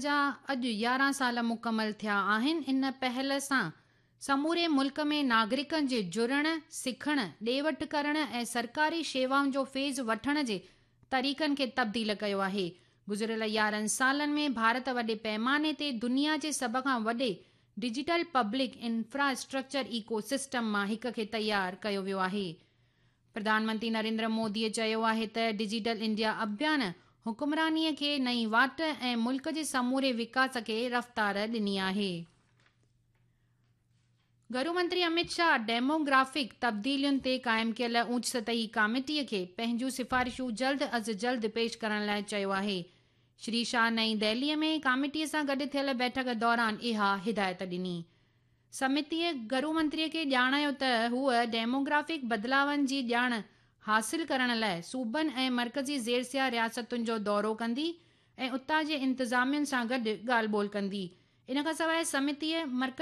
جا اڄ 11 سال مڪمل ٿيا آهن، ان پهل سان سموري ملڪ ۾ ناگرڪن جي جڙڻ، سکڻ، ڏي وٺ ڪرڻ ۽ سرڪاري شيوائن جو فيض وٺڻ جي طريقن کي تبديل ڪيو آهي. گذريل 11 سالن ۾ ڀارت وڏي پيماني تي دنيا جي سڀ کان وڏي ڊجيٽل پبلڪ انفراسٽرڪچر ايڪو سسٽم مان هڪ کي تيار ڪيو ويو آهي. پرڌان منتري نريندر مودي چيو آهي ته ڊجيٽل انڊيا اڀيان حڪمراني کي نئين واٽ ۽ ملڪ جي سموري وڪاس کي رفتار ڏني آهي. گهرو منتري امت شاهه ڊيموگرافڪ تبديلين تي قائم ڪيل اوچ سطحي ڪاميٽي کي پنهنجون سفارشون جلد از جلد پيش ڪرڻ لاء چيو آهي. شري شاهه نئين دهلي ۾ ڪاميٽي سان گڏ ٿيل بيٺڪ دوران اها هدايت ڏني. سمتيء گهرو منتريء کي ڄاڻايو ته هوء ڊيموگرافڪ بدلاون جي ڄاڻ حاصل ڪرڻ لاء صوبن ۽ مرڪزي زيرسيا رياستن جو دورو ڪندي ۽ اتان جي انتظامين سان گڏ ڳالهه ٻولهه ڪندي. ان کان سواء سمتيء مرڪزي.